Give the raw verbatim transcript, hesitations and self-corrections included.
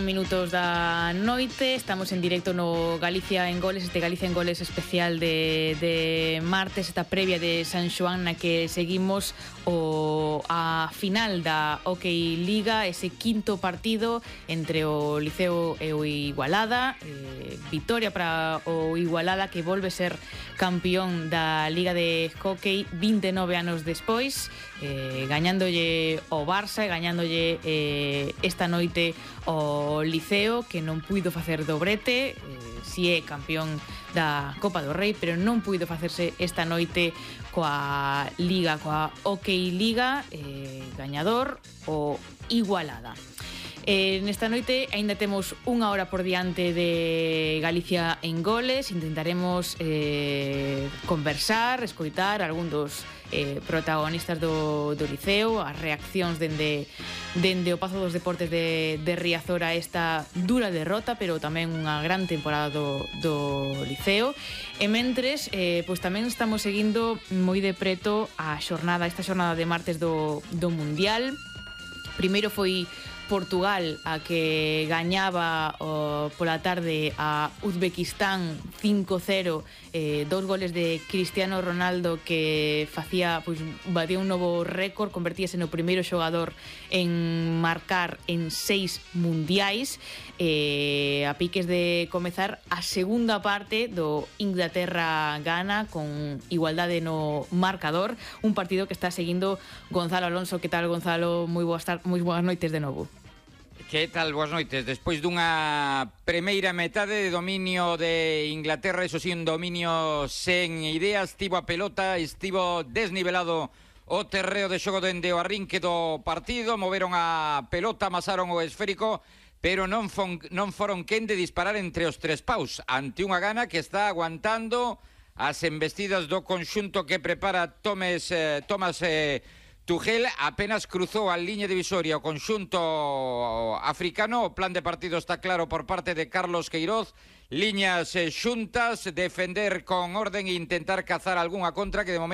Minutos da noite, estamos en directo no Galicia en Goles, este Galicia en Goles especial de, de martes, esta previa de San Xoán na que seguimos o a final da Hockey Liga, ese quinto partido entre o Liceo e o Igualada, eh, vitoria para o Igualada que volve ser campeón da Liga de Hockey vinte e nove anos despois, eh, gañándolle o Barça e gañándolle eh, esta noite o Liceo, que non puido facer dobrete, eh, si é campeón da Copa do Rei, pero non puido facerse esta noite coa Liga, coa Hockey Liga, eh, gañador o Igualada. Eh, nesta noite aínda temos unha hora por diante de Galicia en Goles, intentaremos eh, conversar, escoitar algún dos eh, protagonistas do, do Liceo, as reaccións dende, dende o Pazo dos Deportes de, de Riazor a esta dura derrota, pero tamén unha gran temporada do, do Liceo. E mentres, eh, pois tamén estamos seguindo moi de preto a xornada, esta xornada de martes do, do Mundial. Primeiro foi Portugal, a que gañaba oh, pola tarde a Uzbekistán cinco cero, eh, dous goles de Cristiano Ronaldo que facía, pois, batía un novo récord, convertíase no primeiro xogador en marcar en seis mundiais, eh, a piques de comezar a segunda parte do Inglaterra-Ghana con igualdade no marcador, un partido que está seguindo Gonzalo Alonso. Que tal, Gonzalo? Moi boas, moi boas noites de novo. Que tal, boas noites. Despois dunha primeira metade de dominio de Inglaterra, eso sí, un dominio sen ideas, estivo a pelota, estivo desnivelado o terreo de xogo dende o arrinque do partido, moveron a pelota, amasaron o esférico, pero non, fon, non foron quen de disparar entre os tres paus, ante unha Ghana que está aguantando as embestidas do conxunto que prepara Tomes, eh, Thomas eh, Tuchel. Apenas cruzou a liña divisoria o conxunto africano. O plan de partido está claro por parte de Carlos Queiroz. Liñas eh, xuntas, defender con orden e intentar cazar algunha contra que de momento